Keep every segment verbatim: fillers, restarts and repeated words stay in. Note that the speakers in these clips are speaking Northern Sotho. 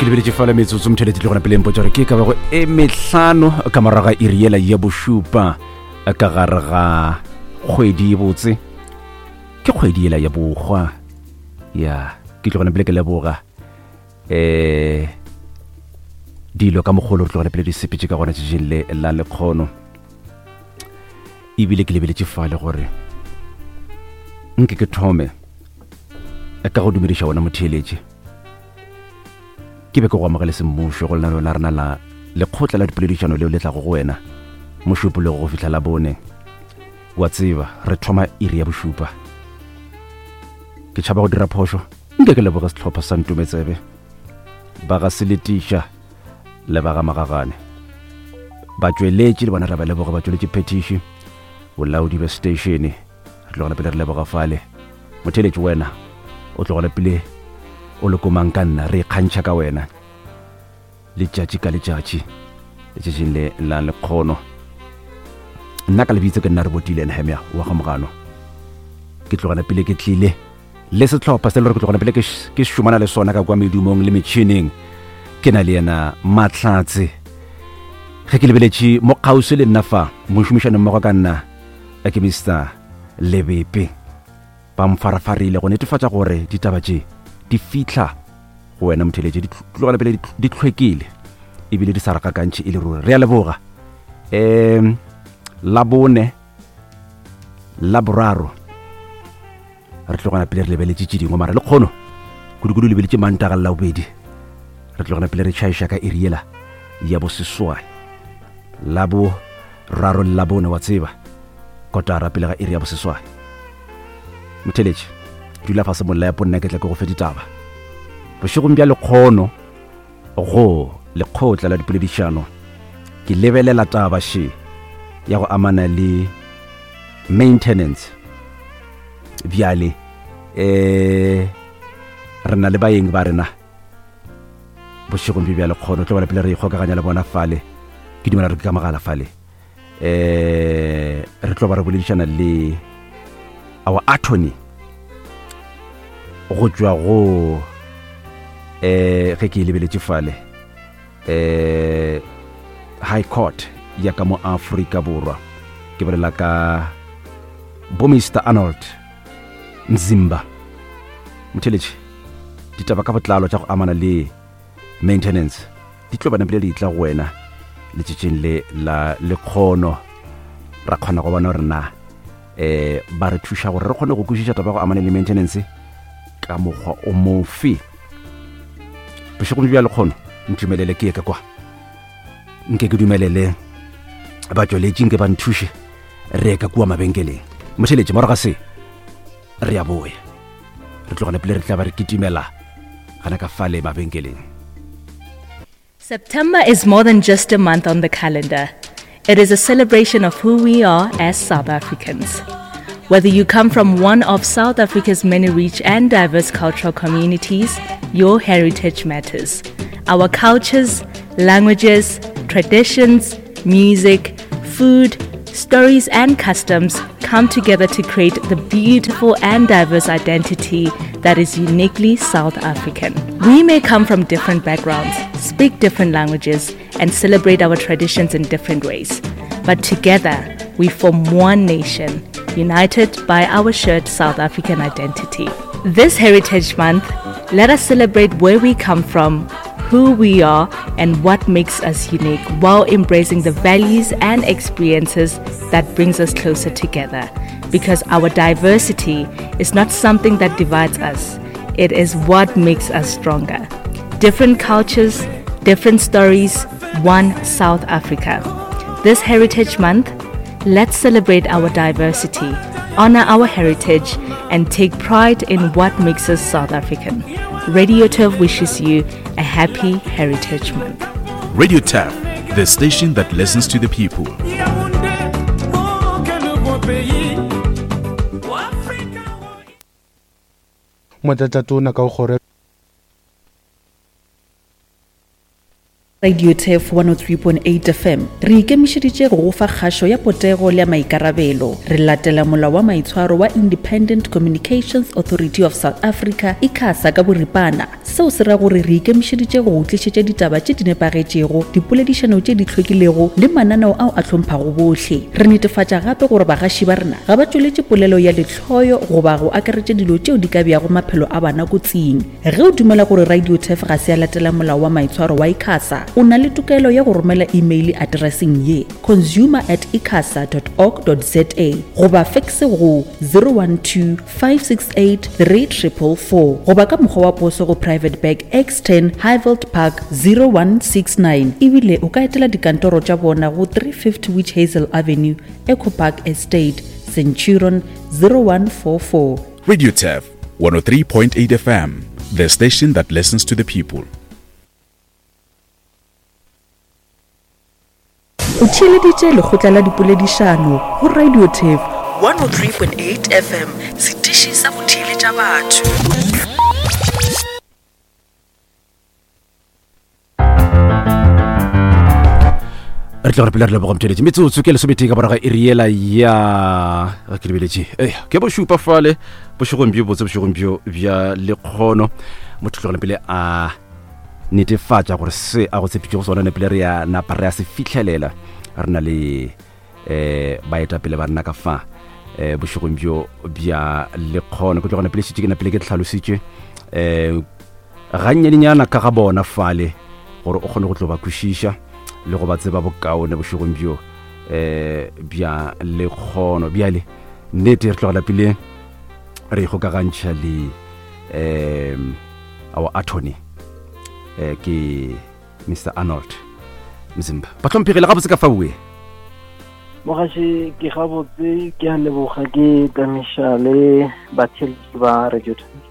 Ke lebeletše fela metsotso motšhelete le gona pele mpotsa gore ke ka bago e mehlano ka morago ga iri yela ya bošupa ka gare ga kgwedi e botse, ke kgwedi yela ya bokgwa. Ya ke tlo gona pele ke leboga um dilo ka mogolo re tlogele pele di sepetse ka gona tšatšing le la lekgono. Ebile ke lebeletše fale gore nke ke thome ka go dumediša wona motheeletše, ke be ke go amogele semmušo go lenaneo la rena la lekgotla la dipoledišano leo le tlago go wena mošupologo go fihla la bone. Wa tseba re thoma iri ya bošupa. Ke tšhaba go dira phošo, nke ke leboge sehlopha sa Ntometsebe ba ga Seletiša le ba ga Magagane, batšweletši le bona re ba leboga, batšweletši phetiši, bolaodi bja station, re tlogela pele re leboga fale. Motheeletši wena o tlogela pele o le komang ka nna, re ikgantšha ka wena letšatši ka letšatši letšatšing le la lekgono. Nna ka lebitso ke nna re botile Nehemia wa ga Mogano. Ke tlogela pele ke tlile le sehlopha se le gore ke tlogela pele ke ke šomana le sona ka kwa medumong le metšhineng. Ke na le yena Mahlatse, ge ke lebeletše mo kgauswi le nna fa mošomišane mmogo ka nna ke Mister Lebepe. Ba mfarafarile go netefatša gore ditaba tše di fihla go wena motheeletše, di tlogela pele di hlwekile ebile di sa re gakantšhe e le ruri. Re a leboga. Um la bone la boraro re tlogela pele re lebeletše tše dingwe, mara le kgono kudu-kudu lebeletše Mantaga le Labobedi re tlogela pele re tšhaiša ka iri yela ya boseswai. La boraro le la bone wa tseba kotara pele ga iri ya boseswai. Motheeletše dula fase molepo, nna ke tla ke go fe ditaba bošegong bja lekgono go lekgotla la dipoledišano. Ke lebelela taba še ya go amana le maintenance. Bjale um re na le baeng ba rena bošegong bjo bja lekgono, tlo bona pele re ikgokaganya le bona fale, ke dumela re ke ka mogala fale. Um re tlo ba re boledišana le our attorney go tšwa go um ge ke e lebeletše fale um High Court ya ka mo Afrika Borwa, ke bolela ka bo Mister Arnold Mzimba. Motheeletše ditaba ka botlalo tša go amana le maintenance di tlo bana pele di tla go wena letšatšing le la lekgono. Ra kgona go bona gore na um ba re thuša gore re kgone go kwešiša taba ya go amana le maintenance ka mokgwa o mofe. Bošegong bja lekgono ntumelele ke ye ka kwa, nke ke dumelele batšweletši nke ba nthuše re ye ka kua mabenkeleng. Motheeletše morago ga se re a boya, re tlogela pele re tla ba re kitimela gana ka fale mabenkeleng. September is more than just a month on the calendar. It is a celebration of who we are as South Africans. Whether you come from one of South Africa's many rich and diverse cultural communities, your heritage matters. Our cultures, languages, traditions, music, food, stories, and customs come together to create the beautiful and diverse identity that is uniquely South African. We may come from different backgrounds, speak different languages, and celebrate our traditions in different ways. But together, we form one nation, united by our shared South African identity. This Heritage Month, let us celebrate where we come from, who we are, and what makes us unique, while embracing the values and experiences that brings us closer together. Because our diversity is not something that divides us, it is what makes us stronger. Different cultures, different stories, one South Africa. This Heritage Month, let's celebrate our diversity, honor our heritage, and take pride in what makes us South African. Radio Turf wishes you a happy Heritage Month. Radio Turf, the station that listens to the people. Motlatšatona ka go kgoro Radio Turf one oh three point eight F M re ikemišeditše go go fa kgašo ya potego le ya maikarabelo. Re latela molao wa maitshwaro wa Independent Communications Authority of South Africa ICASA ka boripana. Seo se ra gore re ikemišeditše go go tlišetša ditaba tše di nepagetšego, dipoledišano tše di hlwekilego le mananeo ao a hlomphwago bohle. Re netefatša gape gore bagaši ba rena ga ba tšweletše polelo ya lehloyo goba go akaretša dilo tšeo di ka beago maphelo a bana kotsing. Ge o dumela gore Radio Turf ga se ya latela molao wa maitshwaro wa ICASA, o na le tokelo ya go romela email addresseng ye consumer at icasa dot org dot za goba fax go zero one two five six eight three triple four goba ka mokgwa wa poso go Private Bag X ten Highveld Park zero one six nine. Ebile o ka etela dikantoro tša bona go three fifty Witch Hazel Avenue, Echo Park Estate, Centurion zero one four four. Radio Turf one oh three point eight F M, the station that listens to the people. O theeleditše lekgotla la dipoledišano go Radio Turf one oh three point eight F M, setiši sa go theeletša batho. Re tla re pele re leboga motheeletši. Metsotso ke lesometee ka morago ga iri yela ya ke lebeletše eh ke bošupa fale bošegong bjo botse bošegong bjo bja lekgono. Motho tlogela pele a netefatša gore se a go tshepetšego sona ne pele re ya napa re ya se fihlelela. Re na le eh baetapele ba rena ka fa eh bošegong bjo bja lekgono. Ke tlogela pele šetše ke napele ke tlhalositše eh gannyanenyana ka ga bona fale gore o kgone go tlo ba kwešiša le go ba tseba bokaone bošegong bjo eh bja lekgono. Bjale nnete re tlogela pele re ikgokagantšha le um our attorney eh ke Mister Arnold Mzimba. Bahlomphegi le gabotse ka fa bue. Mogaši ke gabotse, ke a leboga, ke tamiša le batheeletši ba Radio Turf.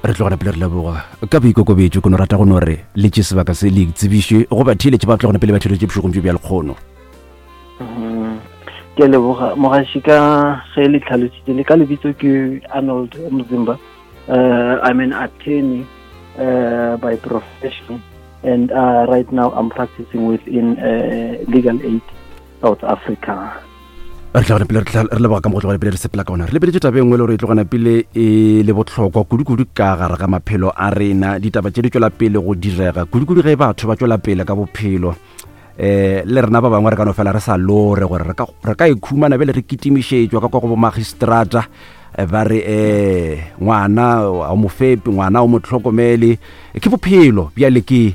Re tlogela pele re leboga ka boikokobetšo. Ke no rata go no re le tše sebaka se le itsebiše go batheeletši ba tlogela pele ba theeletše bošegong bjo bja lekgono. Ke a leboga mogaši ka ge le tlhalositše le ka lebitso ke Arnold Mzimba. Uh, I'm an attorney uh, by profession, and uh, right now I'm practicing within uh, Legal Aid South Africa. Re tlogela pele re leboga ka mo go tlogela pele re sepela ka ona. Re lebeletše taba e nngwe le gore e tlogana pele e le bohlokwa kudu-kudu ka gare ga maphelo a rena. Ditaba tše di tšwela pele go direga kudu-kudu ge batho ba tšwela pele ka bophelo. Eh le rena ba bangwe re ka no fela re sa lore gore re ka re ka ikhumana bele re kitimišetšwa ka kwa go bo magistrata ba re eh ngwana o mofepi, ngwana o motlhokomele. Ke bophelo bjale ke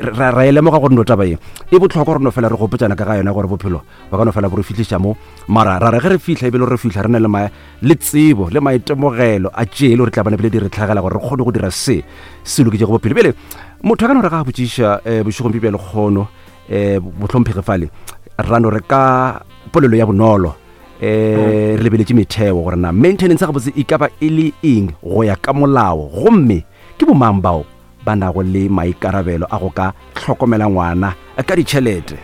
ra e lemoga gore no taba ye e bohlokwa gore no fela re gopotšana ka ga yona gore bophelo ba ka no fela bo re fihliša mo. Mara ra re ge re fihla ebile re fihla re na le ma le tsebo le maitemogelo a tše le gore tla bana pele di re tlhagela gore re kgone go dira se se loketšego bophelo. Bjale motho a ka no re ga a botšiša bošegong bjo bja lekgono eh bohlomphegi fale ra no re ka polelo ya bonolo eh re lebeletše metheo gore na maintenance ga botse e ka ba e le eng go ya ka molao, gomme ke bomang bao ba nago le maikarabelo a go ka hlokomela ngwana ka ditšhelete.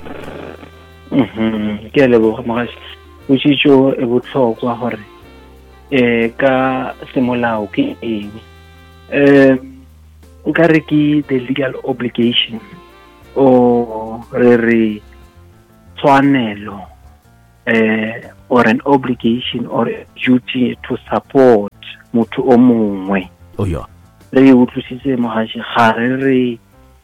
Mhm, ke a leboga mogaši. Potšišo e bohlokwa gore eh ka semolao ke eng. Eh nka re ke the legal obligation o re re tshwanelo eh or an obligation or a duty to support motho o mongwe. Oh yeah. Re utlwisitse mogaši ga re re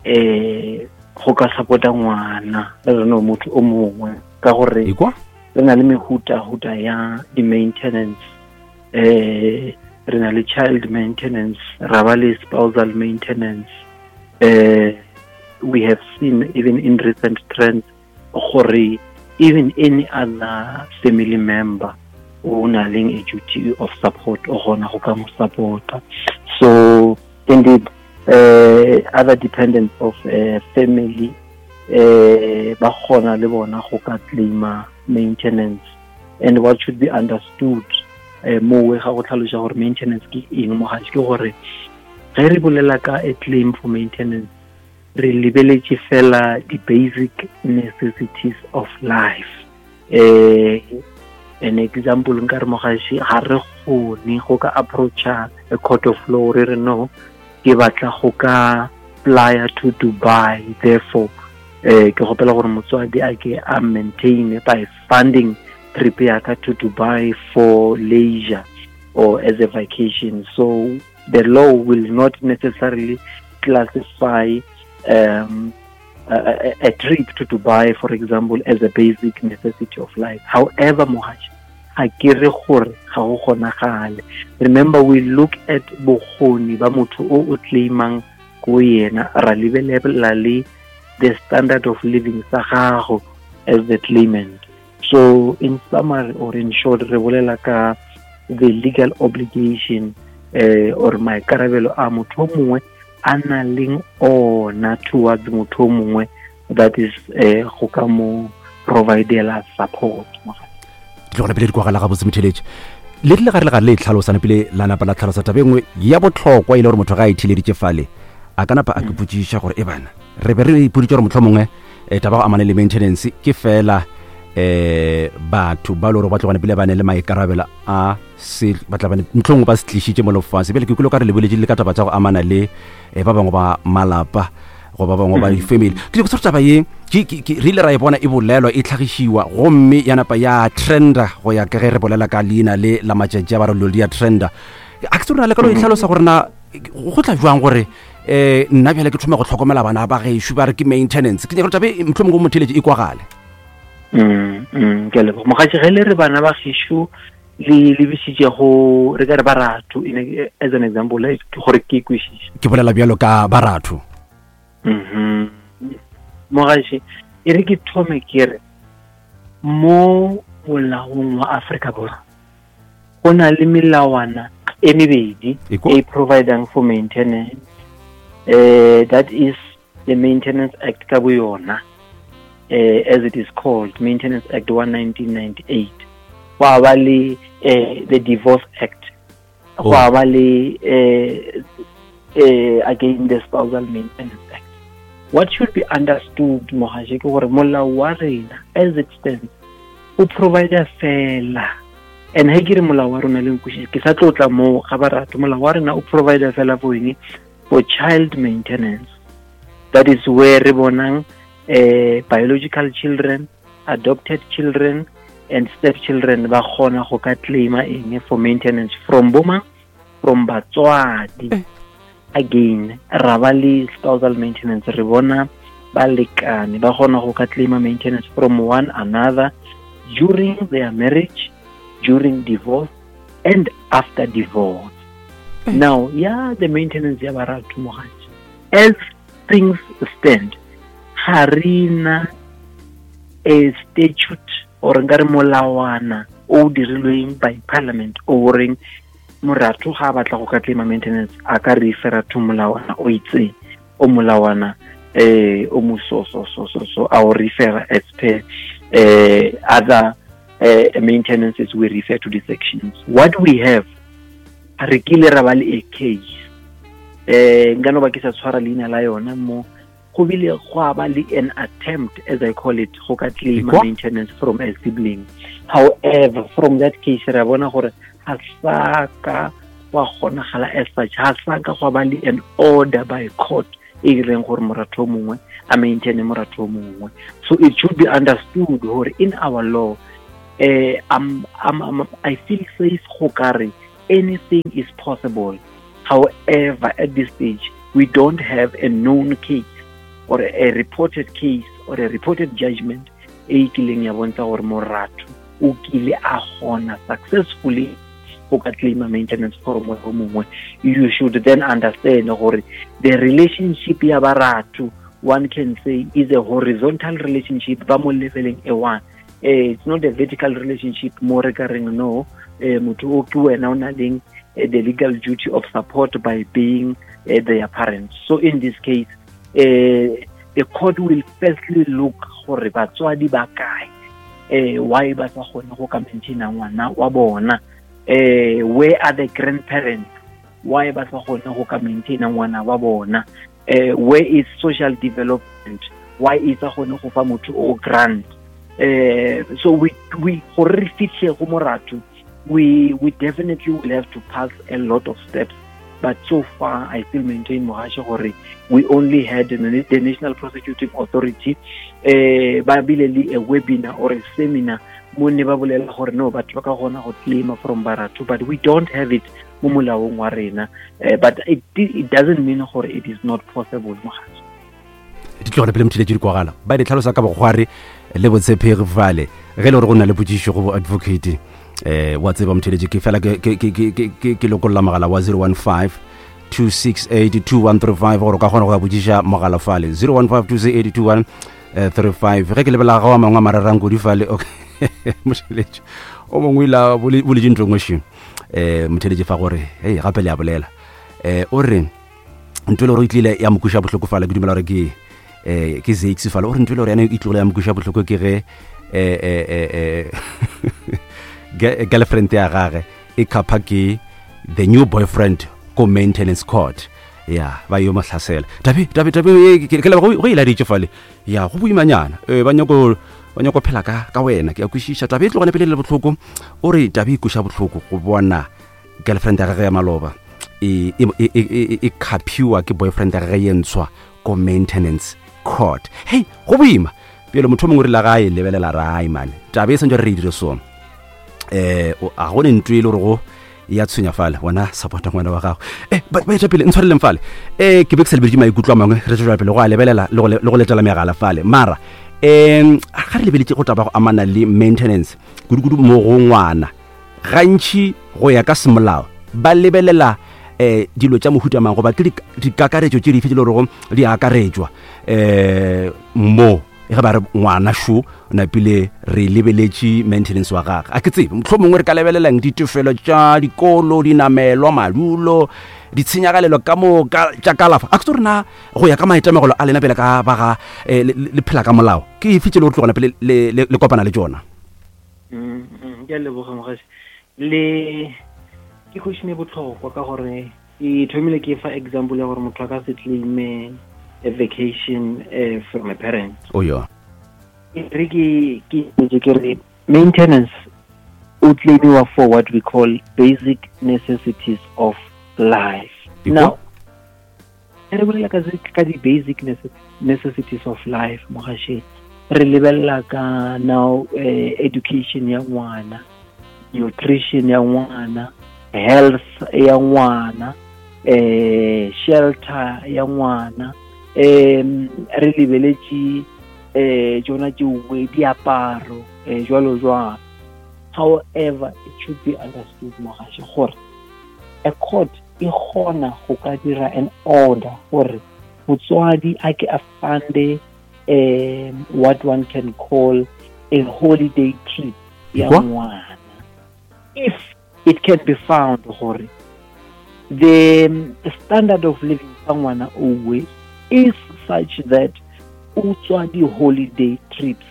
eh go ka support-a ngwana re re no motho o mongwe ka gore re na le mehuta-huta ya di-maintenance. Eh re na le child maintenance, ra ba le spousal maintenance. Eh we have seen even in recent trends gore even any other family member o na leng a duty of support o gona go ka mo support-a. So indeed uh, other dependents of uh, family uh, ba kgona le bona go ka claima maintenance. And what should be understood uh, mowe ga go tlhaloša gore maintenance ke eng mogaši ke gore ge re bolela ka a claim for maintenance re lebeletše fela the basic necessities of life. Eh an example nka re mogaši ga re kgone go ka approacha a court of law re re no ke batla go ka fly to Dubai, therefore Eh ke gopela gore motswadi a ke a maintain by funding trip ya ka to Dubai for leisure or as a vacation. So the law will not necessarily classify um, a, a, a trip to Dubai, for example, as a basic necessity of life. However, mohaji, ga ke re gore ga go kgonagale. Remember, we look at bokgoni ba motho o o claimang ko yena, ra lebelela le the standard of living sa gago as the claimant. So in summary or in short, re bolela ka the legal obligation eh, or maikarabelo a motho o mongwe a nang leng ona towards motho o mongwe, that is eh, go ka mo providela support. Ditlogela pele di kwagala gabotse motheletše le rile gare le gare le e tlhalosane pele la napa la tlhalosa taba e nngwe ya botlhokwa e le gore motho ga a itheleditše fale a ka napa a ke potšiša gore e bana re be re ipoditše gore motlho mongwe um taba go amane le maintenance ke fela um batho ba le gore ba tlogane pele ba ne le maikarabelo a se ba tla bane mohlomongwe ba se tlišitše mo lefase. Bjale ke kwele o ka re lebeletše le ka taba tša go amana le um ba bangwe ba malapa goba ba bangwe ba di-family. Ke nyako taba ye ke- ke- ke- re ile ra e bona e bolelwa e tlhagišiwa gomme ya napa ya trenda go ya ka ge re bolela ka leina le la matšatši a ba re dilo di ya trenda. A ke se rena le ka lo e tlhalosa gore na go tla jwang gore um nna bjale ke thome go tlhokomela bana ba gešo ba re ke maintenance. Ke nyaka gore tabe mohlomongwe go motheletše e kwagale. Mm, mm, ke a leboga mogatši. Ge le re bana ba gešo le lebisitše go re ka re baratho in a- as an example, eh, ke gore ke kwešiše. Ke bolela bjalo ka baratho. Mhm. Mogatši, e re ke thome ke re mo molaong wa Afrika Borwa go na le melawana e mebedi Ekwa. e providing for maintenance, eh that is the Maintenance Act ka bo yona, eh as it is called, Maintenance Act one nineteen ninety-eight. Gwa ba le eh, the Divorce Act, Oh. gwa ba le eh, eh, again the Spousal Maintenance Act. What should be understood mogaše ke gore molao wa rena as it stands o provide fela, and he ke re molao wa rona le nkwešiše, ke sa tlotla moo ga baratho, molao wa rena o provide fela for eng? For child maintenance. That is where re bonang eh, biological children, adopted children and step children ba kgona go ka claima eng for maintenance from boma, from batswadi. Again, ra ba le spousal maintenance, re bona balekane ba kgona go ka claima maintenance from one another during their marriage, during divorce and after divorce. Now, yeah, the maintenance ya baratho mogatši, as things stand, ga re na a statute or nkare molawana o dirilweng by parliament o reng moratho ga a batla go ka claima maintenance a ka refera to molawana o itseng, o molawana eh o mo so so so so so a o refera as per eh other eh, maintenances, we refer to the sections. What we have, re kile ra ba le a case eh nka no ba ke sa tshwara leina la yona mo, go bile gwa ba le an attempt, as I call it, go ka claim Ekwa. maintenance from a sibling. However, from that case re a bona gore ga sa ka gwa kgonagala as such, ga sa ka gwa ba le an order by court e reng gore moratho o mongwe a maintaine moratho o mongwe. So it should be understood gore in our law, eh, I'm, I'm, I'm, I feel safe go ka re anything is possible. However, at this stage we don't have a known case or a reported case or a reported judgment e kileng ya bontsha gore moratho o kile a kgona successfully go ka claima maintenance for motho o mongwe. You should then understand gore the relationship ya baratho, one can say, is a horizontal relationship ba mo leveleng e one. Eh, it's not a vertical relationship mo re ka reng no, eh, motho o ke wena o na leng eh, the legal duty of support by being eh, their parents. So in this case, eh, the court will firstly look gore batswadi ba kae, eh, why ba sa kgone go ka maintaina ngwana wa bona, eh, where are the grandparents, why ba sa kgone go ka maintaina ngwana wa bona, eh, where is social development, why e sa kgone go fa motho o grant. Eh, so we, we gore re fitlhe go moratho, we, we definitely will have to pass a lot of steps But so far I still maintain, mogashe, gore we only had the, the National Prosecuting Authority eh ba bile le a webinar or a seminar mo ne ba bolela gore no, batho ba ka gona go claima from baratho, but we don't have it mo molaong wa rena. uh, but it, it doesn't mean gore it is not possible, mogashe. Di tlogele pele motheletši di kwagala ba di tlhalosa ka bokgware le botshepegi fale. Ge e le gore go na le potšišo go bo advocate, eh wa tseba motheletši, ke fela ke lokolla mogala wa zero one five two six eight two one three five gore o ka kgona go ya botšiša mogala fale zero one five two six eight two one three five. Ge ke lebela ga wa mangwe a mararang kudu fale, okay, motheletši o mongwe ila boletše ntho engwe še um motheletši fa gore hei gape le a bolela um o re ntho e le gore e tlile ya mokuša bohloko fale, ke dumela gore ke eh ke Zakes fale, o re ntho e le gore yana e tlogile ya mokuša bohloko ke ge eh eh eh girlfriend ya gage e khapha ke the new boyfriend ko maintenance court, ya ba yo mo hlasela. Tabe tabe tabe ke le go e laditše fale, ya go boimanyana eh ba nyako ba nyako phela ka ka wena, ke a kwešiša. Tabe e tlogane pele le bohloko, o re tabe e kuša bohloko go bona girlfriend ya gage ya maloba e e e e khaphiwa ke boyfriend ya gage ye ntshwa ko maintenance court. Hey, go boima pele motho mongwe re la gae lebelela rai man, tabe e santse re dire so eh a go ne ntwe le gore go ya tshwenya fale wena support ngwana wa gago. Eh ba ba pele ntshwareleng fale eh ke be ke sa lebeletse maikutlo a mangwe, re tswela pele go a lebelela le go letela megala fale. Mara em ga re lebeletse go taba go amana le maintenance kudu-kudu mo go ngwana, gantši go ya ka semolao ba lebelela eh dilo tša mohuta mang goba ke dikakaretšo tše dife tše le gore di akaretšwa eh mo ge ba re ngwana šo napile re lebeletše maintenance wa gagwe. A ke tsebe mohlomongwe re ka lebelelang ditefelo tša dikolo, dinamelwa, madulo, ditshenyagalelo ka moka tša kalafa. A ke tse rena go ya ka maitemogelo a lena pele ka ba ga le phela ka molao, ke efe tše le gore tlogana pele le kopana le tšona? Ke a leboga mogaši. Le ke question e botlhokwa ka gore e thomile ke fa example ya gore motho a ka se claime a vacation uh, from a parent. Oh yeah. Re ke ke ke re maintenance o claimiwa for what we call basic necessities of life. Now re bolela ka ka di basic necessities of life mogaše, re lebella ka now uh, education ya ngwana, nutrition ya ngwana, health ya ngwana, eh shelter ya ngwana, em re lebeletše eh tsona tšewe diaparo eh jwalo jwalo. However, it should be understood mogaše gore a court e kgona go ka dira an order gore motswadi a ke a funde um what one can call a holiday trip ya ngwana if it can be found gore the standard of living sa ngwana owe is such that o tswa di holiday trips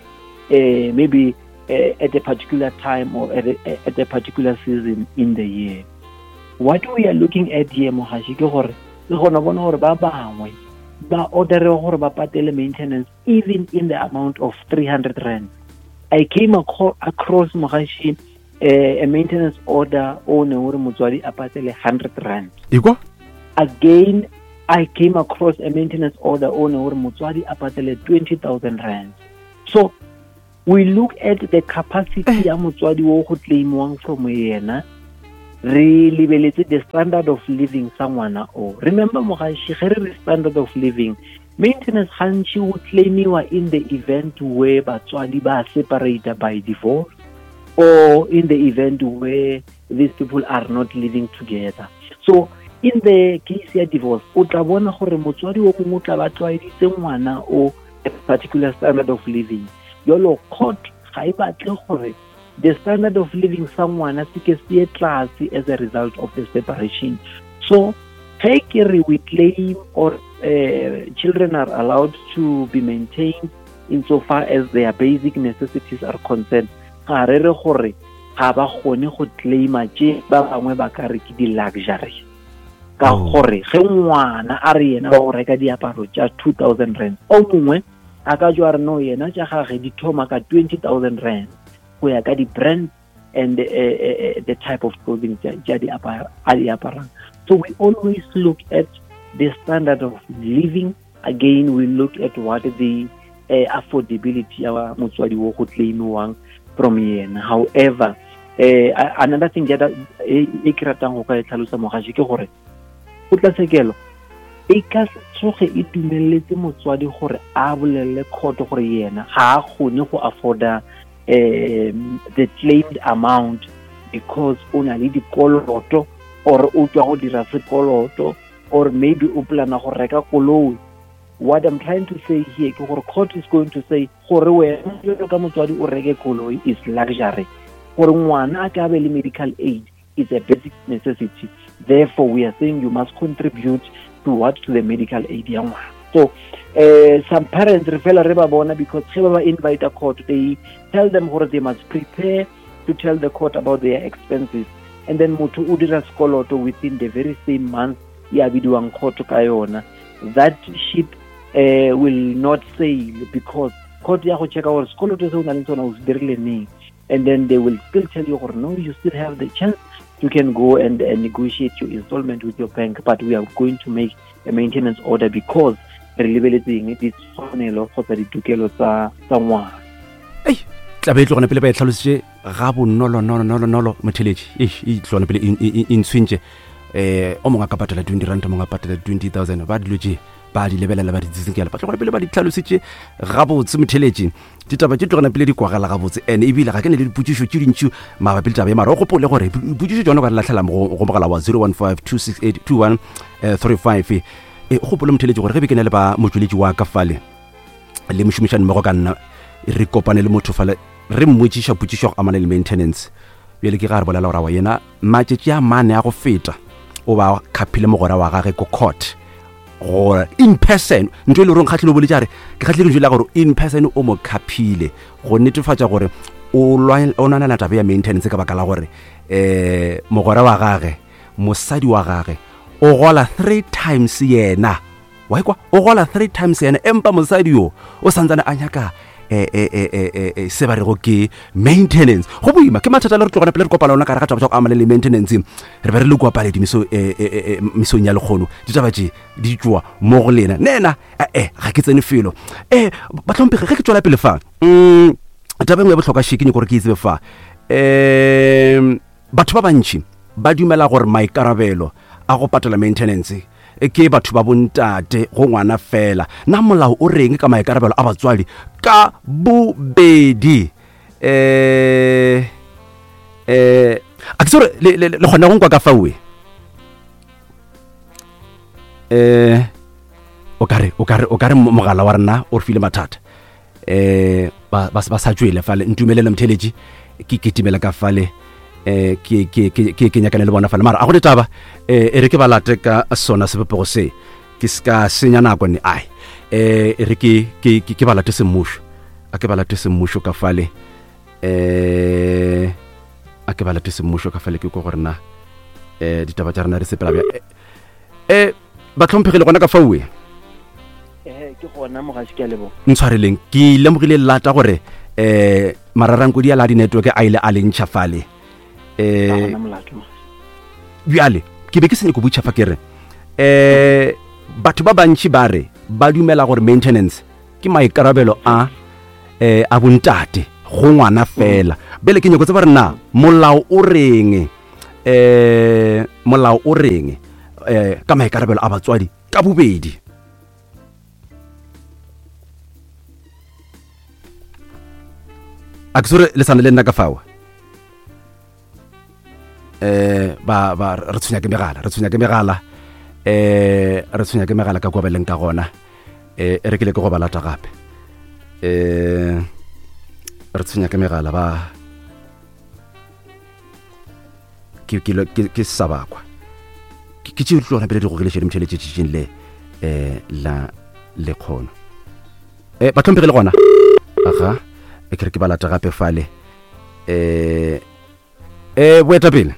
uh, maybe uh, at a particular time or at a, at a particular season in the year. What we are looking at here mogaši ke gore le gona bona gore ba bangwe ba ordere gore ba patele maintenance even in the amount of three hundred rand. I came across mogaši uh, a maintenance order o ne gore motswadi a patele one hundred rand. Ikwa? Again, I came across a maintenance order o ne gore motswadi a patele twenty thousand rand. So we look at the capacity ya motswadi wo go claimwang from yena, re lebeletse the standard of living sa ngwana o. Remember mogaši, ge re re standard of living, maintenance gantši o claimiwa in the event where batswadi ba separated by divorce or in the event where these people are not living together. So in the case ya divorce, o tla bona gore motswadi o mongwe o tla ba tlwaeditse ngwana o a particular standard of living. Jalo court ga e batle gore the standard of living sa ngwana se ke se ye tlase as a result of the separation. So ge ke re we claim or uh, children are allowed to be maintained insofar as their basic necessities are concerned, ga re re gore ga ba kgone go claima tše ba bangwe ba ka re ke di-luxury. Ka gore ge ngwana a re yena ba go reka diaparo tša two thousand rand, o mongwe a ka jwa re no yena tša gage di thoma ka twenty thousand rand go ya ka di-brand and uh, uh, the type of clothing tša di aparang. So we always look at the standard of living. Again, we look at what the uh, affordability ya motswadi wo go claimiwang from yena. However, uh, another thing that e ke ratang go ka e tlhalosa mogaši ke gore kgotlatshekelo e ka se tsoge e dumeletse motswadi gore a bolelele court gore yena ga a kgone go afforda um the claimed amount because o na le dikoloto or o tswa go dira sekoloto or maybe o plana go reka koloi. What I'm trying to say here ke gore court is going to say gore wena jalo ka motswadi o reke koloi is luxury, gore ngwana a ka be le medical aid is a basic necessity. Therefore, we are saying you must contribute to what? To the medical aid ya ngwana. So uh, some parents re fela re ba bona because ge ba ba invite a court, they tell them gore they must prepare to tell the court about their expenses, and then motho o dira sekoloto within the very same month ya bidiwang court ka yona. That ship uh, will not sail because court ya go checka gore sekoloto se o nang le sona o se dirile neng, and then they will still tell you gore no, you still have the chance, you can go and, and negotiate your installment with your bank, but we are going to make a maintenance order because re lebeletseng ditshwanelo kgotsa ditokelo tsa tsa ngwana. Ei, tlabe e tlogone pele ba e tlhalositše ga bonolo nolo nolo nolo motheletši. E tlogone pele e ntshwentše. Eh, o mongwe a ka patela twenty rand, o mongwe a patela twenty thousand. Ba dilo tše ba di lebelela ba di tsitsinkela, ba tlogone pele ba di tlhalositše gabotse motheletši. Ditaba tše tlogona pele di kwagala gabotse, and ebile ga ke ne le dipotšišo tše dintši mabapi le taba ye, mara o gopole gore dipotšišo tšona o ka di lahlela go mogala wa zero one five two six eight two one three five. E gopole motheletši gore ge be ke na le ba motšweletši wa ka fale le mošomišani mmogo ka nna, re kopane le motho fale re mmotšiša potšišo go amana le maintenance. Bjale ke ga re bolela gore wa yena matšatši a mane a go feta o ba khaphile mogwera wa gage ko court gore in person, ntho e le goreng kgatlhile o boletse a re ke kgatlhile lentšu la gore in person o mo khaphile go netefatša gore o lwanana taba ya maintenance ka baka la gore um mogwera wa gage, mosadi wa gage o gola three times yena. Wa ikwa o gola three times yena, empa mosadi yo o santsane a nyaka eh eh eh eh se ba rego ke maintenance. Go boima ke mathata le re tlogana pele re kopana lona ka re ga taba tša go amana le maintenance. Re be re le kua paledi meso eh eh mesong ya lekgono, ditaba tše di tšwa mo go lena. Nena eh ga ke tsene felo. Eh batlhomphegi ge ke tšwela pele fa, mm taba engwe ya bohlokwa še ke nyako gore ke e tsebe fa. Eh batho ba bantši ba dumela gore maikarabelo a go patela maintenance ke batho ba bontate go ngwana fela. Na molao o reng ka maikarabelo a batswadi ka bobedi? Eh eh a ke tsore le le kgona go nkwa ka fawe. Eh o kare o kare o kare mogala wa rena o re file mathata. Eh ba ba sa tšwele fale, ntumelele motheletši ke ketimela ka fale. Eh ke ke ke ke nyakane le bona fale, mara a go ditaba eh e re ke ba late ka sona sebopego se ke ska senya nako ne ai eh e re ke ke ke ba late semmušo, a ke ba late semmušo ka fale. Eh a ke ba late semmušo ka fale ke go gore na eh ditaba tša rena re sepela bja. Eh ba tlhomphegile gona ka fawe. Eh ke gona mogaši ke a leboga. Ntshwareleng ke lemogile lata gore eh mararankodi a la di network a ile a le ntšha fale. Eh bjale ke be ke senya go botša fa ke re eh batho ba bantši ba re ba dumela gore maintenance ke maikarabelo a eh a bontate go ngwana fela. Bjale ke nyako tseba re na molao o reng, eh molao o reng eh ka maikarabelo a batswadi ka bobedi? A ke sore le sane le nna ka fao. Eh ba ba re tshwenya ke megala, re tshwenya ke megala, eh re tshwenya ke megala ka kwa beleng ka gona. Eh re ke le ke go ba lata gape. Eh re tshwenya ke megala ba ke ke ke sa bakwa. Ke tše tlogela pele di gogile šedi motšheletše tšitšing le eh la le kgono. Eh ba tlhomphegile gona. Aga e ke re ke ba lata gape fale. Eh eh boetapele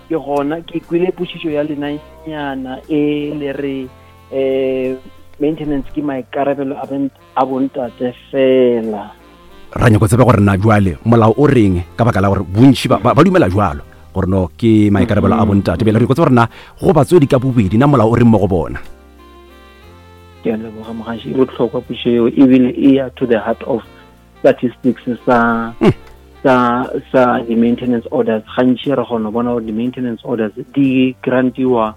ke gona ke kwile potšišo ya lena nyana e le re eh maintenance ke maikarabelo a a bontate fela. Ra nyako tsebe gore na jwale molao o reng ka baka la gore bontši ba ba dumela jwalo Gore no ke maikarabelo a bontate. Bjale re go tseba gore na go batswadi ka bobedi na molao o reng mo go bona. Ke a leboga mogaši, e bohlokwa pušo eo, ebile e ya to the heart of statistics sa sa sa di-maintenance orders. Gantši re kgona go bona gore di-maintenance orders di grantiwa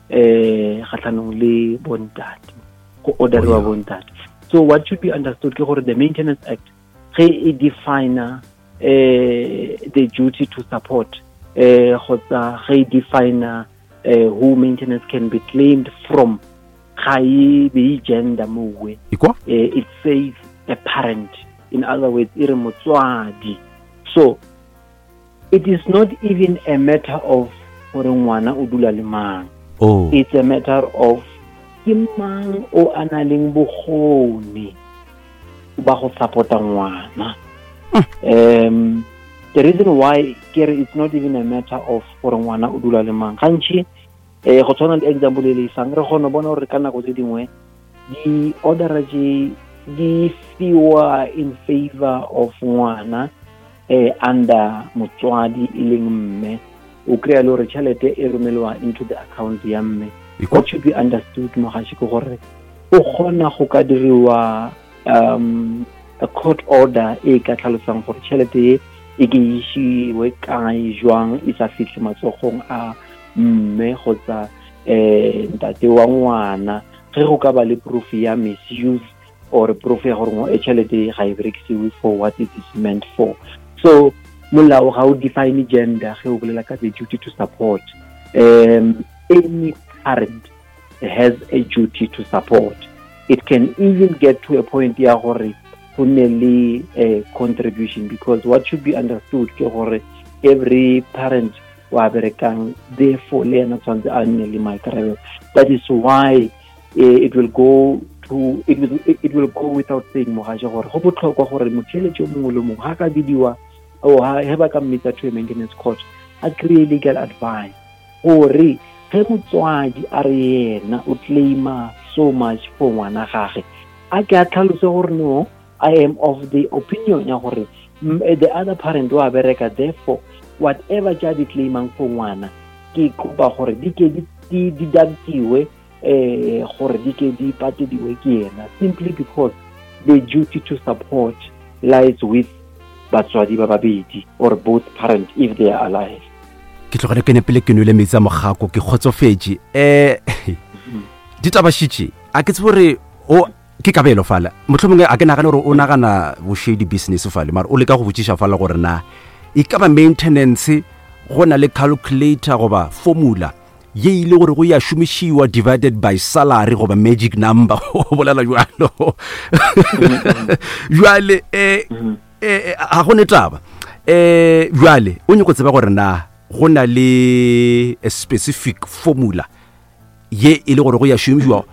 eh kgatlhanong le bontate, go orderiwa bontate. So what should be understood ke gore the Maintenance Act ge e define eh the duty to support, eh kgotsa ge e define eh who maintenance can be claimed from, ga e be gender mowe. Eh, it says a parent, in other words e re motswadi. So it is not even a matter of gore ngwana o dula le mang. Oh. It's a matter of ke mang o a nang le bokgoni ba go support-a ngwana. Um, the reason why ke re it's not even a matter of gore ngwana o dula le mang, gantši eh go tshwana le example e le isang, re kgona bona gore ka nako tse dingwe di-ordera tše di fiwa in favor of ngwana eh under motswadi e leng mme, o kry-a le gore tšhelete e romelwa into the account ya mme. What should be understood mogaši ke gore o kgona go ka diriwa um a court order e ka tlhalosang gore tšhelete e e ke išiwe kae jwang e sa fihle matsogong a mme kgotsa eh ntate wa ngwana, ge go ka ba le proof ya misuse or proof ya gore e tšhelete ga e berekisiwe for what it is meant for. So molao ga o define gender ge o bolela ka the duty to support. Um, any parent has a duty to support. It can even get to a point ya gore go nne le a contribution, because what should be understood ke gore every parent wa berekang, therefore le yena tshwanetse a nne le maikarabelo. That is why eh, it will go to it will, it will go without saying mogaša gore go botlhokwa gore motheeletši o mongwe le mongwe ga ka bidiwa o ha ba ka mmitsa to a maintenance court a kry-e legal advice gore ge motswadi a re yena o claima so much for ngwana gage, a ke a tlhalose gore no, I am of the opinion ya gore the other parent wa bereka, therefore whatever tša di claimang for ngwana ke kopa gore di ke di deductiwe eh gore di ke di patediwe ke yena, simply because the duty to support lies with batswadi ba babedi or both parents if they are alive. Ke tlogele ke nepele ke nwele metsi a mogako, ke kgotsofetše. Eh ditaba šitše a ke tsebe gore o ke kabelo fala, mohlomongwe a ke nagane gore o nagana boshady business fale, mara o leka go botšiša fala gore na e ka ba maintenance go na le calculator goba formula ye ile gore go ya šomišiwa divided by salary goba magic number, o bolela jwalo. Jwale eh eh ga go ne taba eh jwale o nyako tseba gore na go na le a specific formula ye e le gore go ya šomišiwa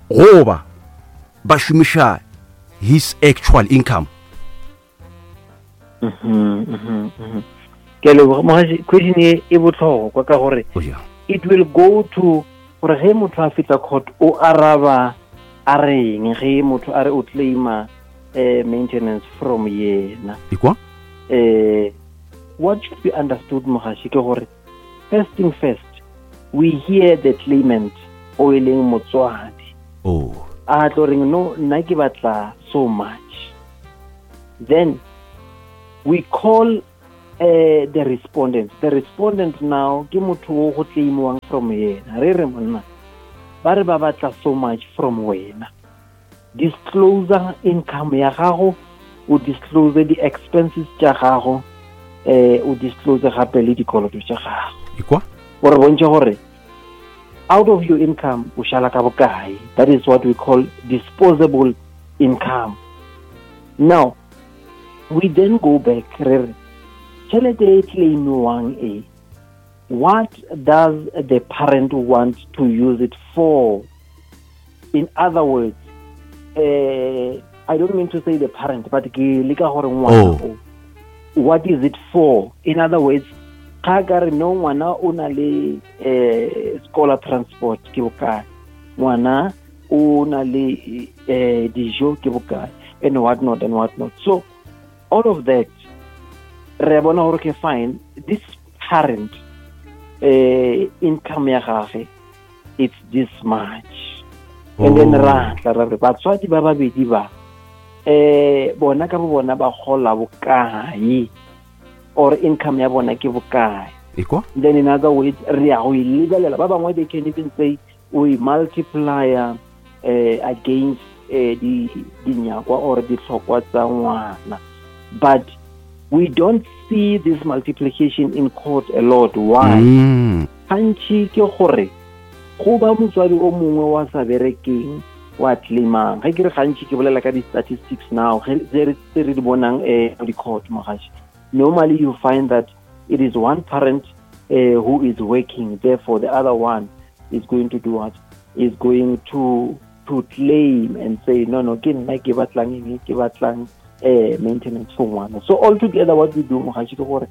goba ba šomiša his actual income. Mhm mhm ke leboga mogaši, question e e bohlokwa ka gore it will go to gore ge motho a fihla court o araba a reng ge motho a re o claima eh maintenance from yena. Ikwa eh what should be understood mogaši ke gore first thing first, we hear the claimant o e leng motswadi oh a tlo reng no nna ke batla so much, then we call uh, the respondent. The respondent now ke motho o go claimiwang from yena, re re monna ba re ba batla so much from wena, disclose income ya gago, o disclose di expenses tša gago, eh o disclose gape le dikoloto tša gago. Ikwa gore bontšhe gore out of your income o šala ka bokae. That is what we call disposable income. Now we then go back re re tšhelete e claimiwang e, what does the parent want to use it for? In other words, uh, I don't mean to say the parent, but ke leka gore ngwana o, what is it for? In other words, ga ka re no ngwana o na le eh scholar transport ke bokae, ngwana o na le eh dijo ke bokae, and what not and what not. So all of that re bona gore ke fine, this parent eh income ya gage it's this much. And then Oh. ra tla ra re batswadi ba babedi ba eh bona ka bo bona ba gola bokae or income ya bona ke bokae. Ekwa? Then in other words, re ya go e lebelela. Ba bangwe they can even say we multiply uh, against uh, di dinyakwa or ditlhokwa tsa ngwana, but we don't see this multiplication in court a lot. Why? Mm. Gantši ke gore go ba motswadi o mongwe wa sa berekeng wa claimang. Ge ke re gantši ke bolela ka di-statistics now ge tse re tse re di bonang eh di-court mogaši. Normally you find that it is one parent uh, who is working, therefore the other one is going to do what? Is going to to claim and say no no ke nna ke batlang eng, ke batlang eh maintenance for ngwana. So altogether what we do mogaši ke gore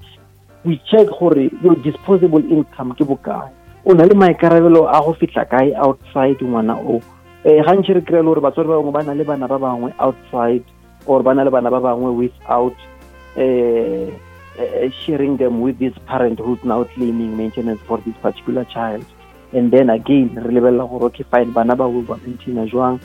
we check gore your disposable income ke bokae, o na le maikarabelo a go fihla kae outside ngwana o. Eh gantši re kry-e le gore batswadi ba bangwe ba na le bana ba bangwe outside or ba na le bana ba bangwe without eh, eh, sharing them with this parent who's now claiming maintenance for this particular child. And then again re lebelela gore okay fine, bana ba ba maintaina jwang,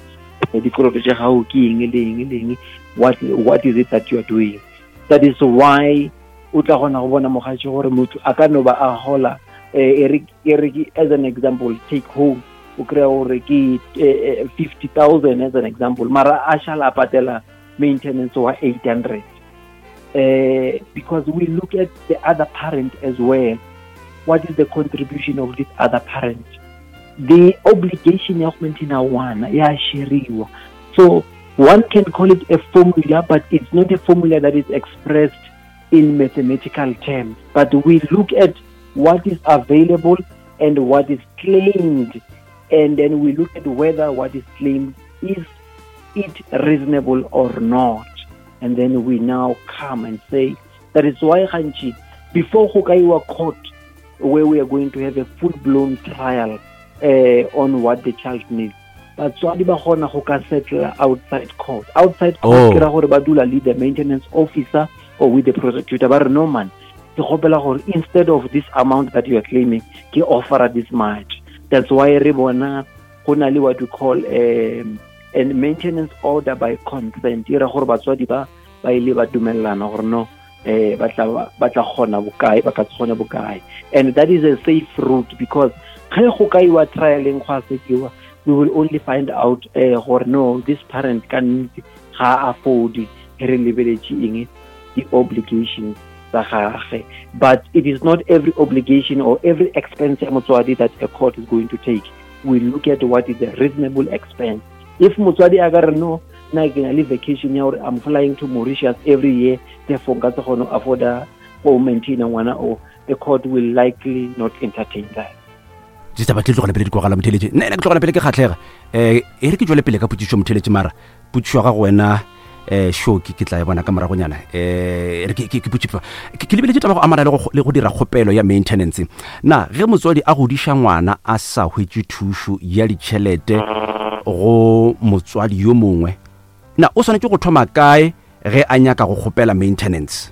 eh, dikoloto tša gago ke eng le eng le eng, what, what is it that you are doing. That is why o tla kgona go bona mogatši gore motho a ka no ba a gola eh, e re, e re ke, as an example, take home o kry-a gore ke eh, eh, fifty thousand as an example, mara a šala a patela maintenance wa eight hundred. Eh, because we look at the other parent as well. What is the contribution of this other parent? The obligation ya go maintaina ngwana ya sheriwa. So one can call it a formula, but it's not a formula that is expressed in mathematical terms. But we look at what is available and what is claimed, and then we look at whether what is claimed is it reasonable or not. And then we now come and say, that is why gantši before go ka iwa court, where we are going to have a full-blown trial, uh, on what the child needs, batswadi ba kgona go ka settle outside court. Outside court, Oh. ke ra gore ba dula le the maintenance officer or with the prosecutor. Ba re, no man, ke kgopela gore instead of this amount that you are claiming, ke offera this much. That's why re bona go na le what we call, um, a maintenance order by consent. E ra gore batswadi ba ba ile ba dumellana gore no, eh, ba tla, ba tla kgona bokae, ba ka se kgone bokae. And that is a safe route, because ge go ka iwa trialeng go a sekiwa, we will only find out, eh, gore no, this parent ka nnete ga a afford ge re lebeletše eng, di-obligations tsa gagwe. But it is not every obligation or every expense ya motswadi that a court is going to take. We look at what is a reasonable expense. If motswadi a ka re no, nna ke na le vacation ya gore I'm flying to Mauritius every year, therefore nka se kgone go afforda go maintaina ngwana o, the court will likely not entertain that. Ditaba tse di tlogela pele di kwagala motheletše. Nna ena ke tlogela pele ke kgatlhega. Eh, e re ke tšwele pele ka potšišo motheletše, mara potšišo ya gago wena, eh, Shoki, ke tla e bona ka moragonyana. Eh, e re ke, ke, ke potšišo. Ke, ke lebeletše taba go amana le go, le go dira kgopelo ya maintenance. Na ge motswadi a godiša ngwana a sa hwetše thušo ya ditšhelete go motswadi yo mongwe, na o swanetše go thoma kae ge a nyaka go kgopela maintenance?